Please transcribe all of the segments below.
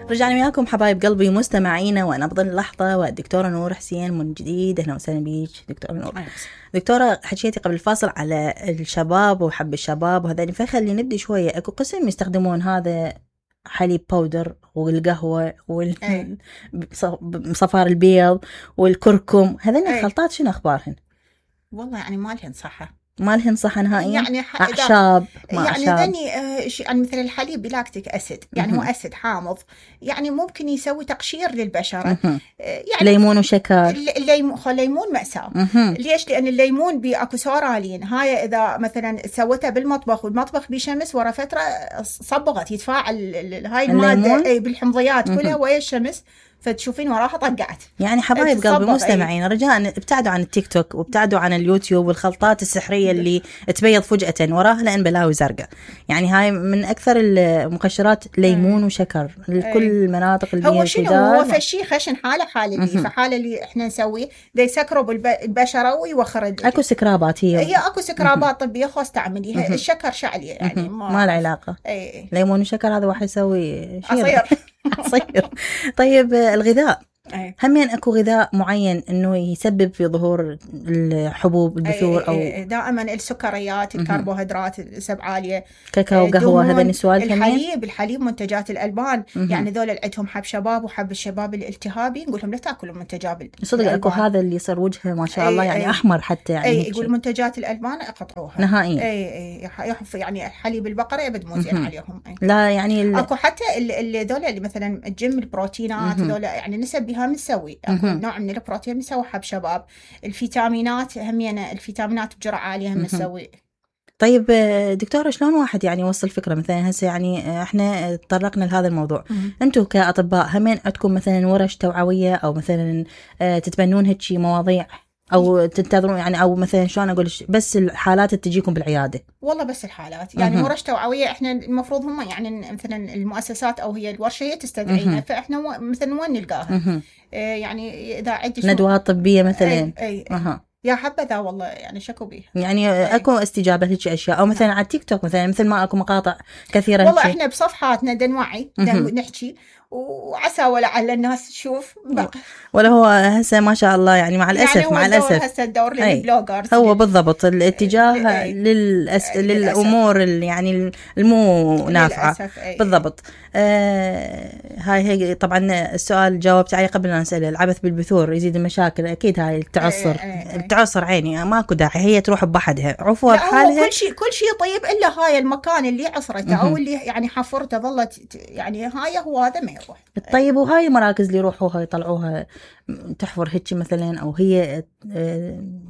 رجعنا وياكم حبايب قلبي مستمعينا ونبض اللحظة والدكتورة نور حسين من جديد. أهلا وسهلا بيك دكتورة نور. دكتورة حكيتي قبل الفاصل على الشباب وحب الشباب وهذا، فخلي نبدي شوية. أكو قسم يستخدمون هذا حليب باودر والقهوة والصفار البيض والكركم، هذين الخلطات شنو أخبارهن؟ والله يعني ما لهن صحة، ما لهن صحة نهائيا، يعني أعشاب يعني ذني يعني مثل الحليب بلاكتيك أسيد، يعني هو أسيد حامض، يعني ممكن يسوي تقشير للبشرة. يعني ليمون وشكر، الليمون مأساة. ليش؟ لأن الليمون بأكو سورالين، هاي إذا مثلا سوتها بالمطبخ والمطبخ بشمس ورا فترة صبغت يتفاعل هاي المادة بالحمضيات كلها ويا الشمس، فتشوفين وراها طقعت. يعني حبايب قلبي مستمعين رجاء ابتعدوا عن التيك توك وابتعدوا عن اليوتيوب والخلطات السحرية اللي تبيض فجأة وراها لأن بلاوي زرقاء. يعني هاي من أكثر المقشرات ليمون وشكر لكل المناطق البيئة. هو شنو هو فشي خشن حالة اللي فحالة اللي احنا نسويه ده يسكروا البشرة ويوخر اكو سكرابات، هي اكو سكرابات طبية خاص تعمليها. الشكر شعلي يعني ما له علاقة. ليمون وشكر هذا واحد يسوي عصير. طيب الغذاء همين اكو غذاء معين انه يسبب في ظهور الحبوب البثور او دائما السكريات الكربوهيدرات نسب عاليه، كاكاو وقهوه، هذا السؤال. الحليب منتجات الالبان، يعني ذول عندهم حب شباب وحب الشباب الالتهابي، نقول لهم لا تاكلوا منتجات صدق. اكو هذا اللي يصير وجهه ما شاء الله يعني احمر حتى، يعني يقول منتجات الالبان اقطعوها نهائيا. يعني حليب البقره ابد مو زين عليهم. لا يعني اكو حتى ذول اللي مثلا الجيم البروتينات ذول يعني نسب مسوي نوع من البروتين مسوي حب شباب. الفيتامينات همينة الفيتامينات بجرعة عالية هم مسوي. طيب دكتورة شلون واحد يعني يوصل فكرة مثلا هسه يعني احنا تطرقنا لهذا الموضوع، انتم كأطباء همين عندكم مثلا ورش توعوية او مثلا تتبنون هيك مواضيع او تنتظرون يعني، او مثلا شلون اقول بس الحالات تجيكم بالعياده؟ والله بس الحالات يعني ورش توعويه احنا المفروض هم يعني مثلا المؤسسات او هي الورشه هي تستدعينا، فاحنا مثلا وين نلقاها؟ يعني اذا عندي ندوات طبيه مثلا يا حبذا والله يعني شكو بيه. يعني اكو استجابه هيك اشياء او مثلا على التيك توك مثل ما اكو مقاطع كثيره والله احنا بصفحاتنا نوعي نحكي وعسى ولعل الناس تشوف ولا هو هسه ما شاء الله يعني مع الاسف يعني مع الاسف هسه الدور للبلوجرز هو بالضبط الاتجاه للامور اللي يعني المو نافعه بالضبط. هاي طبعا السؤال جاوبت عليه قبل ان نسأله، العبث بالبثور يزيد المشاكل. اكيد هاي التعصر عيني ماكو داعي، هي تروح بحدها عفوا بحالها. كل شيء طيب الا هاي المكان اللي عصرته او اللي يعني حفرته ظلت يعني هاي هو هذا ما يروح. طيب وهاي المراكز اللي يروحوها يطلعوها تحفر هيك مثلا او هي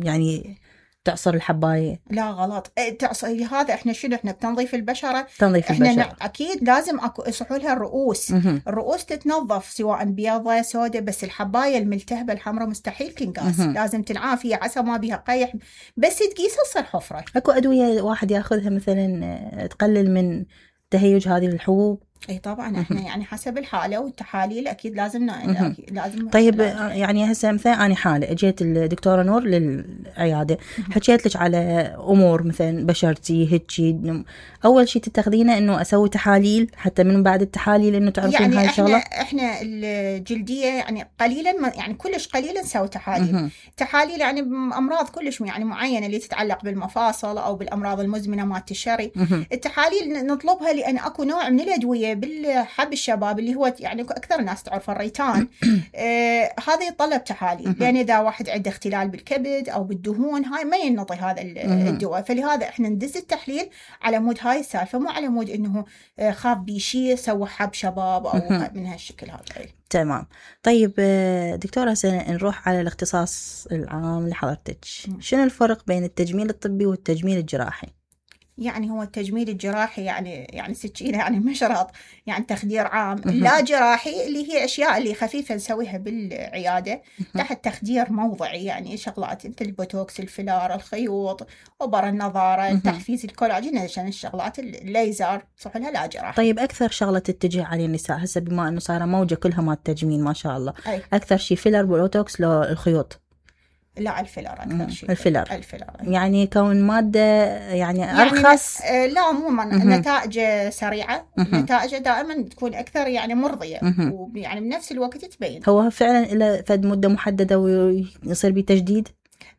يعني تعصر الحباية؟ لا غلط، تعصر هذا احنا شنو احنا بتنظيف البشرة، احنا اكيد لازم اكو يصحوا لها الرؤوس. الرؤوس تتنظف سواء بيضة سوداء، بس الحباية الملتهبة الحمراء مستحيل تنقاس، لازم تنعافي عسى ما بها قيح بس تقيس تصير حفرة. اكو ادوية واحد ياخذها مثلا تقلل من تهيج هذه الحبوب؟ اي طبعا احنا يعني حسب الحاله والتحاليل اكيد لازم لازم. طيب يعني هسه مثلا انا حاله اجيت الدكتوره نور للعياده، حكيت لك على امور مثلا بشرتي هيك، اول شيء تتخذينه انه اسوي تحاليل حتى من بعد التحاليل انه تعرفين يعني هاي الشغله؟ احنا الجلديه يعني قليلا يعني كلش قليلا نسوي تحاليل. تحاليل يعني امراض كلش يعني معينه اللي تتعلق بالمفاصل او بالامراض المزمنه مالت الشري. التحاليل نطلبها لان اكو نوع من الادويه بالحب الشباب اللي هو يعني اكثر الناس تعرف الريتان. هذا يتطلب تحاليل، لان اذا واحد عنده اختلال بالكبد او بالدهون هاي ما ينطي هذا الدواء، فلهذا احنا ندز التحليل على مود هاي السالفه، مو على مود انه خاف بيشي سوى حب شباب او من هالشكل هذا. تمام. طيب دكتورة نروح على الاختصاص العام لحضرتك، شنو الفرق بين التجميل الطبي والتجميل الجراحي؟ يعني هو التجميل الجراحي يعني سكينة يعني مشرط يعني تخدير عام. لا جراحي اللي هي أشياء اللي خفيفة نسويها بالعيادة تحت تخدير موضعي، يعني شغلات مثل البوتوكس الفيلار الخيوط وبر النظارة تحفيز الكولاجين عشان الشغلات الليزر صح لها لا جراحي. طيب أكثر شغلة تتجه على النساء هسه بما أنه صار موجة كلها مال التجميل ما شاء الله، أكثر شيء فيلر بوتوكس لو الخيوط؟ لا الفيلر أكثر شيء. الفيلر يعني كون مادة يعني أرخص. لا عموما نتائج سريعة، نتائج دائما تكون أكثر يعني مرضية، ويعني بنفس الوقت تبين. هو فعلا إلى فد مدة محددة ويصير بتجديد؟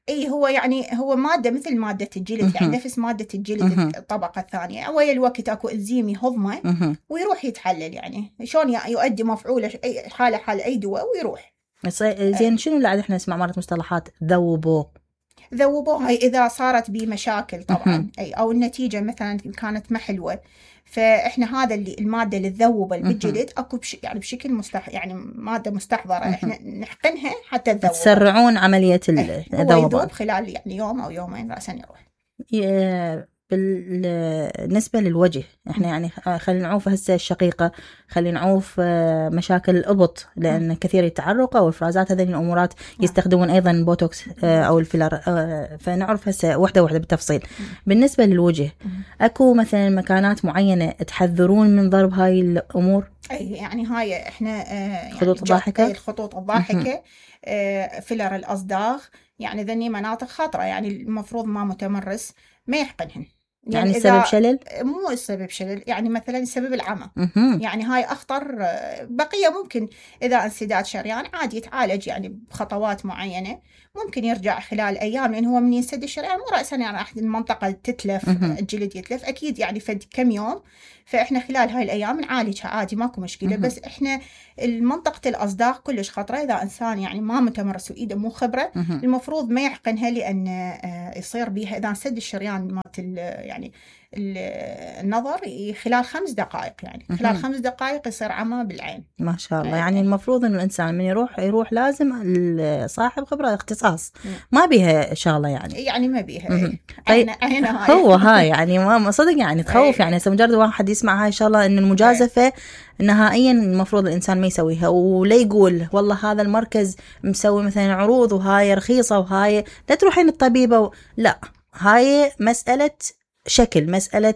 اي هو يعني هو مادة مثل مادة الجلد، يعني نفس مادة الجلد الطبقة الثانية، أول الوقت اكو انزيم يهضمه ويروح يتحلل، يعني شلون يؤدي مفعوله أي حالة حال أي دواء ويروح. زين شنو اللي عاد احنا نسمع مرات مصطلحات ذوبوه هاي إذا صارت بمشاكل طبعا أي أو النتيجة مثلا كانت ما حلوة، فإحنا هذا اللي المادة اللي تذوب بالجلد أكو يعني بشكل يعني مادة مستحضرة إحنا نحقنها حتى تذوب، تسرعون عملية الذوبان. هو يذوب خلال يعني يوم أو يومين رأسا يروح. بالنسبة للوجه احنا يعني خلينا نعوف هسه الشقيقة، خلينا نعوف مشاكل الإبط، لأن كثير يتعرق أو الإفرازات هذين الأمورات يستخدمون أيضا بوتوكس أو الفيلر، فنعرف هسه واحدة بالتفصيل. بالنسبة للوجه أكو مثلا مكانات معينة تحذرون من ضرب هاي الأمور؟ أي يعني هاي احنا يعني الخطوط الضاحكة، الخطوط الضاحكة، فيلر الأصداغ، يعني ذني مناطق خطرة، يعني المفروض ما متمرس ما يحقنهن. يعني السبب شلل؟ مو السبب شلل، يعني مثلا سبب العمى، يعني هاي أخطر. بقية ممكن إذا انسداد شريان عادي يتعالج يعني بخطوات معينة، ممكن يرجع خلال أيام، لأن هو من ينسد الشريان مو رأسا يعني المنطقة تتلف، الجلد يتلف أكيد يعني فد كم يوم، فإحنا خلال هاي الأيام نعالجها عادي ماكو مشكلة. بس إحنا المنطقة الأصداغ كلش خطرة، إذا إنسان يعني ما متمرس وإيده مو خبرة المفروض ما يحقنها، لأن يصير بيها إذا انسد الشريان مات يعني النظر خلال 5 دقائق، يعني خلال 5 دقائق يصير عمى بالعين. ما شاء الله. يعني المفروض إنه الإنسان من يروح لازم صاحب خبرة اختصاص، ما بيها شغلة يعني ما بيها. طيب هو هاي يعني ما صدق يعني تخوف، يعني مجرد واحد يسمع هاي شغلة إنه المجازفة نهائيا المفروض الإنسان ما يسويها، ولا يقول والله هذا المركز مسوي مثلا عروض وهاي رخيصة وهاي لا تروحين الطبيبة لا، هاي مسألة شكل، مسألة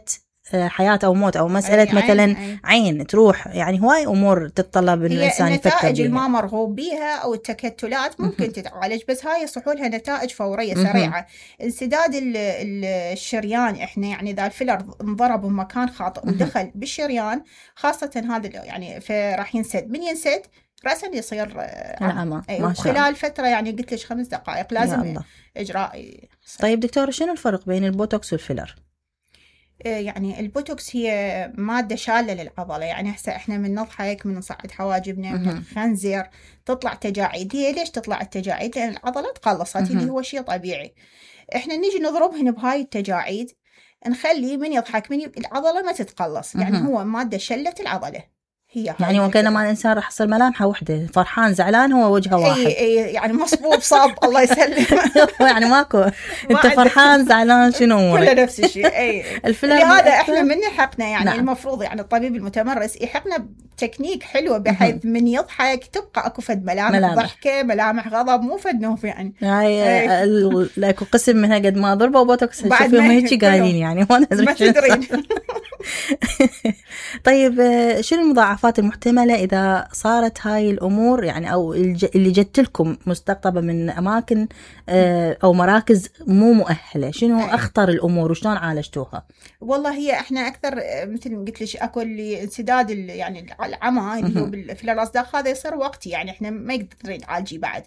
حياة أو موت، أو مسألة مثلا عين تروح، يعني هواي أمور تتطلب إن الإنسان يفكر بيها. النتائج الما مرغوب بيها أو التكتلات ممكن تتعالج، بس هاي يصحولها نتائج فورية سريعة. انسداد الشريان إحنا يعني إذا الفيلر انضرب بمكان خاطئ ودخل بالشريان خاصة هذا يعني فراح ينسد، من ينسد رأسا يصير عمى. خلال فترة يعني قلت لك 5 دقائق لازم إجراء. طيب دكتور شنو الفرق بين البوتوكس والفيلر؟ يعني البوتوكس هي مادة شالة للعضلة، يعني هسه احنا من نضحك من نصعد حواجبنا من نخنزر تطلع تجاعيد. هي ليش تطلع التجاعيد؟ لأن العضلة تقلصت اللي هو شيء طبيعي. احنا نيجي نضربهن بهاي التجاعيد نخلي من يضحك من العضلة ما تتقلص، يعني هو مادة شلت العضلة. هي يعني وكأنما الإنسان راح يصير ملامحه وحدة، فرحان زعلان هو وجهه واحد. اي يعني مصبوب صاب الله يسلم. يعني ماكو انت فرحان زعلان شنو امورك كله نفس الشيء. اي لهذا احنا من يحقنا يعني نعم. المفروض يعني الطبيب المتمرس يحقنا بتكنيك حلوه بحيث من يضحك تبقى اكو فد ملامح ضحكه، ملامح غضب، مو فد نوف يعني. هاي لاكو قسم منها قد ما ضربوا بوتوكس شوفيهم هيك قايلين يعني ما تدرين. طيب شنو المضاعفات المحتملة إذا صارت هاي الأمور يعني أو اللي جت لكم مستقطبة من أماكن أو مراكز مو مؤهلة؟ شنو أخطر الأمور وشلون عالجتوها؟ والله هي إحنا أكثر مثل ما قلت لك أكو اللي انسداد يعني العمى اللي هو بالفيلر الأصداغ هذا يصير وقتي، يعني إحنا ما يقدرين تعالجي بعد.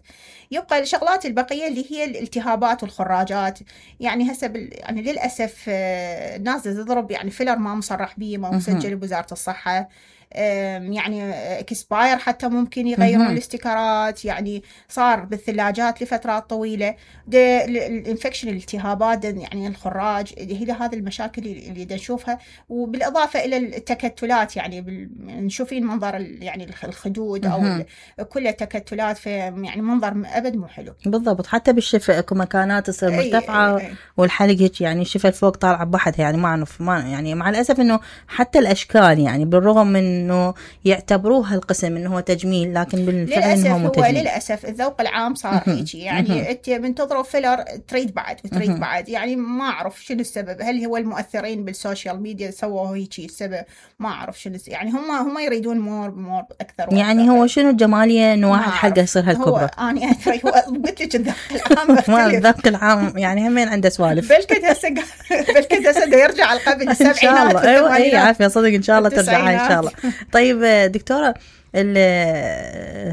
يبقى الشغلات البقية اللي هي الالتهابات والخراجات، يعني هسه يعني للأسف الناس تضرب يعني فيلر ما مصرح به ما مسجل بوزارة الصحة، يعني اكسباير حتى ممكن يغيرون الاستيكرات، يعني صار بالثلاجات لفترات طويلة. الانفكشن الالتهابات يعني الخراج هي هذه المشاكل اللي نشوفها، وبالإضافة إلى التكتلات يعني نشوفين منظر يعني الخدود أو كل التكتلات في يعني منظر أبد مو حلو. بالضبط. حتى بالشفة اكو مكانات تصير مرتفعة والحلق هيك يعني الشفة الفوق طالعة بحدها، يعني ما يعني مع الأسف إنه حتى الأشكال يعني بالرغم من انه يعتبروها القسم انه هو تجميل، لكن بالفعل هو مو تجميل. للاسف الذوق العام صار هيك، يعني انت من تضرب فيلر تريد بعد وتريد بعد، يعني ما اعرف شنو السبب. هل هو المؤثرين بالسوشيال ميديا سووا هيك السبب؟ ما اعرف شنو، يعني هم يريدون مور اكثر يعني هو شنو الجماليه انه واحد حلقه يصير هالكبره. هو انا ادري، هو قلت لك الذوق العام ما الذوق العام يعني همين عنده سوالف. بلكت هسه يرجع القبل السبعينات والثمانينات. ايوه عافيه صدق ان شاء الله ترجع ان شاء الله. طيب دكتوره،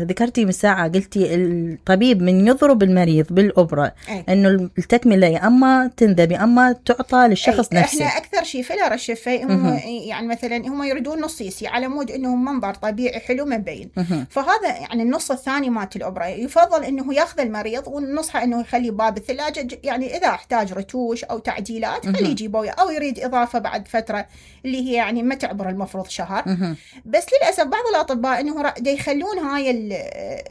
ذكرتي من ساعة قلتي الطبيب من يضرب المريض بالأبرة إنه التكملة يا أما تنذب يا أما تعطى للشخص نفسه. إحنا أكثر شيء فيلر الشفة هم يعني مثلا هم يريدون نص يسي على مود إنه منظر طبيعي حلو مبين. فهذا يعني النص الثاني مات الأبرة يفضل إنه يأخذ المريض ونصحه إنه يخلي باب الثلاجة، يعني إذا احتاج رتوش أو تعديلات خليه يجيبه، أو يريد إضافة بعد فترة اللي هي يعني ما تعبر المفروض شهر. بس للأسف بعض الأطباء إنه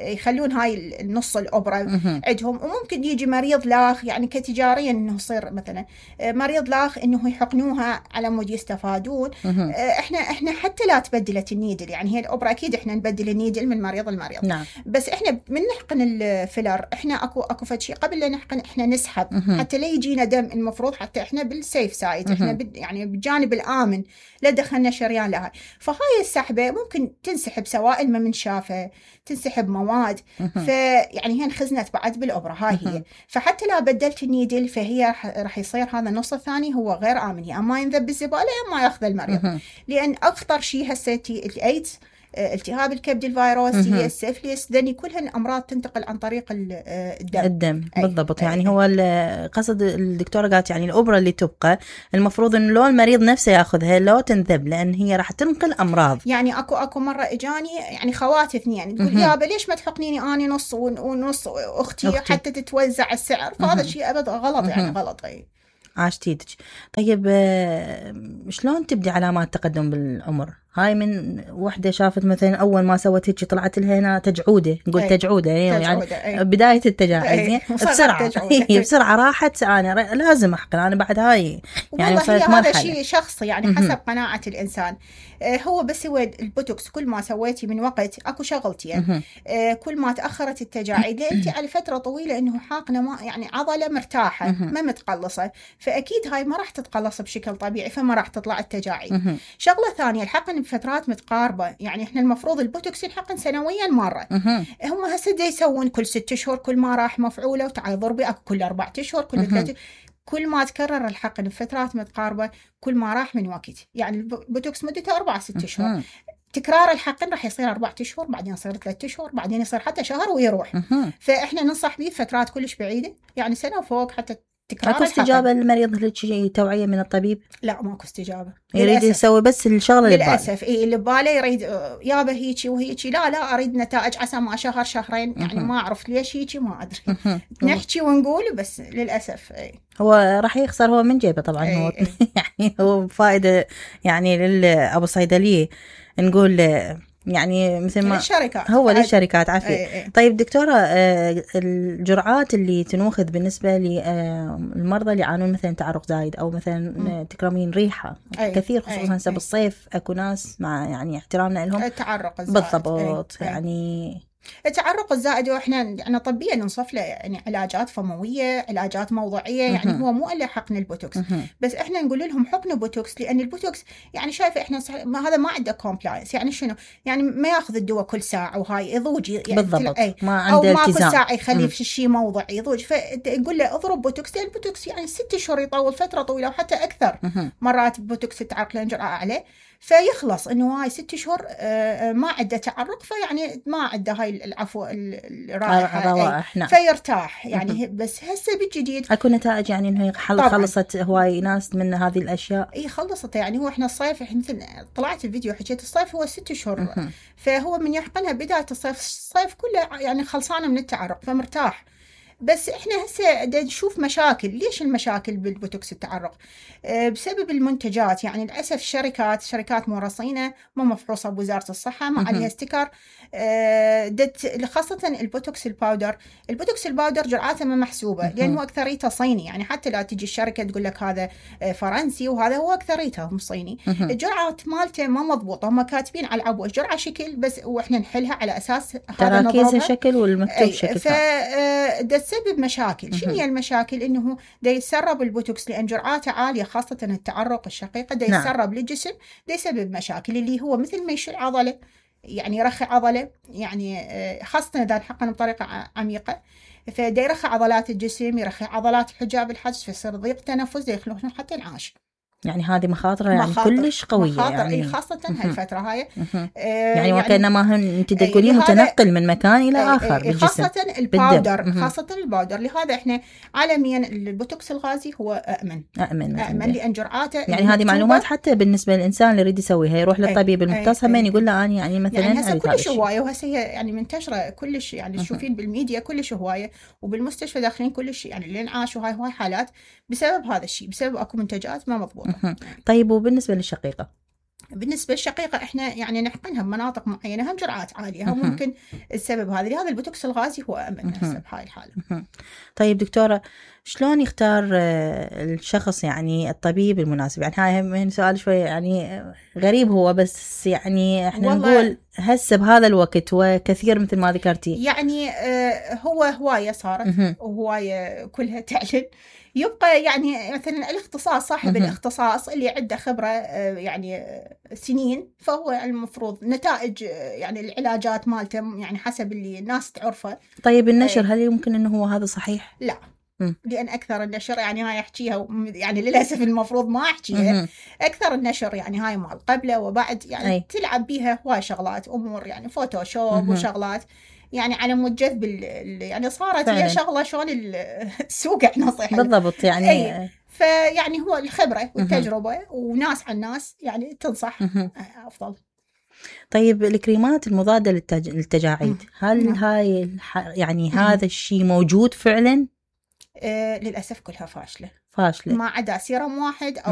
يخلون هاي النص الأبرة عندهم، وممكن يجي مريض لاخ يعني كتجاريا إنه يصير مثلا مريض لاخ إنه يحقنوها على مود يستفادون. إحنا حتى لا تبدلت النيدل، يعني هي الأبرة أكيد إحنا نبدل النيدل من مريض لمريض. نعم. بس إحنا من نحقن الفيلر إحنا أكو فد شيء قبل لا نحقن إحنا نسحب حتى لا يجينا دم، المفروض حتى إحنا بالسيف سايد، إحنا يعني بالجانب الآمن لا دخلنا شريان لها. فهاي السحبة ممكن تنسحب سوائل ما من شافه، تنسحب مواد، فيعني هي انخزنت بعد بالأبرة هاي هي. فحتى لا بدلت النيدل فهي راح يصير هذا النص الثاني هو غير آمن، يا أما ينذب بالزبالة يا أما يأخذ المريض. لأن أخطر شيء هسه الإيدز، التهاب الكبد الفيروسي، السيفليس، ذني كلهن أمراض تنتقل عن طريق الدم. بالضبط. يعني هو قصد الدكتورة قالت يعني الأبرة اللي تبقى المفروض إنه لو المريض نفسه يأخذها لو تنذب، لأن هي راح تنقل أمراض. يعني أكو مرة إجاني يعني خواتي اثنين تقول يابا ليش ما تحقنيني أنا نص ونص أختي حتى تتوزع السعر؟ فهذا شيء أبدا غلط، يعني غلط. عاشتيدك. طيب شلون تبدي علامات تقدم بالعمر؟ هاي من وحدة شافت مثلا أول ما سوت هيك طلعت لها هنا تجعودة، نقول تجعودة يعني بداية التجاعيد بسرعة راحت أنا لازم أحقن أنا بعد هاي يعني وصلت مرحلة. هذا شيء شخصي يعني حسب قناعة الإنسان. هو بس هو البوتوكس كل ما سويتي من وقت أكو شغلتي يعني كل ما تأخرت التجاعيد لأنتي على فترة طويلة إنه حاقنة ما يعني عضلة مرتاحة ما متقلصة، فأكيد هاي ما راح تتقلص بشكل طبيعي فما راح تطلع التجاعيد. شغلة ثانية الحقن بفترات متقاربة، يعني إحنا المفروض البوتوكس ينحقن سنويا مرة. هم هسه يسوون كل 6 أشهر كل ما راح مفعولة، وتعال ضربي أكو كل 4 أشهر كل 3. كل ما تكرر الحقن بفترات متقاربة كل ما راح من وقت. يعني البوتوكس مدته 4-6 أشهر، تكرار الحقن راح يصير 4 أشهر، بعدين يصير 3 أشهر، بعدين يصير حتى شهر ويروح. فإحنا ننصح به فترات كلش بعيدة، يعني سنة فوق حتى تكرار. اكو استجابة للمريض لشيء توعية من الطبيب؟ لا ماكو استجابة، يريد يسوي بس الشغلة للأسف. اللي بباله يريد يابا هيجي وهيجي، لا أريد نتائج عسى ما شهر شهرين، يعني ما أعرف ليش هيجي ما أدري. نحكي ونقول بس للأسف هو راح يخسر هو من جيبه طبعا. هو يعني هو فائدة يعني للأبو صيدلية نقول يعني مثل ما للشركات، هو للشركات عافية. طيب دكتورة الجرعات اللي تنوخذ بالنسبة للمرضى اللي يعانون مثلا تعرق زايد أو مثلا تكرمين ريحة كثير خصوصا هسه بالصيف أكو ناس مع يعني احترامنا لهم التعرق الزائد. بالضبط. يعني التعرق الزائد واحنا يعني طبيا ننصف له يعني علاجات فمويه، علاجات موضعيه، يعني هو مو الا حقن البوتوكس. بس احنا نقول لهم حقنوا بوتوكس، لان البوتوكس يعني شايفه احنا هذا ما عنده كومبلاينس. يعني شنو يعني ما ياخذ الدواء كل ساعه وهاي يضوج يعني بالضبط ما عنده التزام، او ما كل ساعه يخليه في شيء موضعي يضوج. فيقول له اضرب بوتوكس، لان البوتوكس يعني 6 أشهر يطول فتره طويله وحتى اكثر. مرات بوتوكس التعرق له جرعه اعلى فيخلص انه هاي 6 أشهر ما عنده تعرق، فيعني ما عنده هاي العفو الرائحه فيرتاح يعني. بس هسه بالجديد اكو نتائج يعني انه خلصت هواي ناس من هذه الاشياء. خلصت. يعني هو احنا الصيف مثل طلعت الفيديو حكيت الصيف هو 6 أشهر، فهو من يحقنها بدايه الصيف كله يعني خلصانه من التعرق فمرتاح. بس احنا هسه نشوف مشاكل. ليش المشاكل بالبوتوكس التعرق؟ بسبب المنتجات. يعني للاسف شركات مو رصينه، مو مفحوصه بوزاره الصحه، ما عليها استيكر. خاصه البوتوكس الباودر جرعاته ما محسوبه، لان هو اكثريته صيني. يعني حتى لا تجي الشركه تقول لك هذا فرنسي وهذا، هو اكثريته هم صيني. الجرعات مالته ما مضبوطه، هم كاتبين على العبوه جرعه شكل بس، واحنا نحلها على اساس هذا تراكيزها شكل والمكتوب شكل. ده تسبب مشاكل. شنو هي المشاكل؟ انه ده يتسرب البوتوكس لان جرعاته عاليه، خاصه التعرق الشقيقه ده يتسرب للجسم، ده يسبب مشاكل اللي هو مثل ما يشيل عضله، يعني يرخي عضله، يعني خاصه اذا نحقن بطريقه عميقه، فده يرخي عضلات الجسم، يرخي عضلات حجاب الحجز، فيصير ضيق تنفس، ده يخلون حتى العاش. يعني هذه مخاطرها يعني كلش قوية. يعني خاصة هالفترة هاي. يعني وكأنما انت تقولين متنقل من مكان إلى آخر بالجسم. خاصة الباودر. خاصة الباودر. لهذا احنا عالميا البوتوكس الغازي هو أأمن لأن جرعاته. يعني هذه معلومات حتى بالنسبة للإنسان اللي يريد يسويها، يروح للطبيب المختص همين يقول له أنا يعني مثلا يعني هسه كلش هواية، وهسه يعني منتشرة كلش، يعني تشوفين بالميديا كلش هواية، وبالمستشفى داخلين كلش يعني الانعاش وهاي حالات بسبب هذا الشيء، بسبب اكو منتجات ما مضبوطة. طيب وبالنسبة للشقيقة؟ بالنسبة للشقيقة احنا يعني نحقنها بمناطق معينة، هم جرعات عالية، هم ممكن السبب هذا. لهذا البوتوكس الغازي هو أمن هسه بهاي الحالة. طيب دكتورة، شلون يختار الشخص يعني الطبيب المناسب؟ يعني هاي من سؤال شوي يعني غريب هو، بس يعني احنا نقول هسه بهذا الوقت وكثير مثل ما ذكرتي، يعني هو هواية صارت، وهواية كلها تعلن. يبقى يعني مثلا الاختصاص، صاحب الاختصاص اللي عنده خبرة يعني سنين، فهو المفروض نتائج يعني العلاجات مالته يعني حسب اللي الناس تعرفه. طيب النشر هل يمكن انه هو هذا صحيح؟ لا، لأن أكثر النشر يعني هاي أحكيها، يعني للأسف المفروض ما أحكيها. أكثر النشر يعني هاي مال قبله وبعد، يعني تلعب بيها هواي شغلات، أمور يعني فوتوشوب وشغلات، يعني على مود جذب يعني صارت هي شغلة شلون السوق احنا صحيح بالضبط. يعني فيعني هو الخبرة والتجربة وناس عن ناس يعني تنصح أفضل. طيب الكريمات المضادة للتجاعيد، هل هاي يعني هذا الشيء موجود فعلا؟ للأسف كلها فاشلة، ما عدا سيرم واحد أو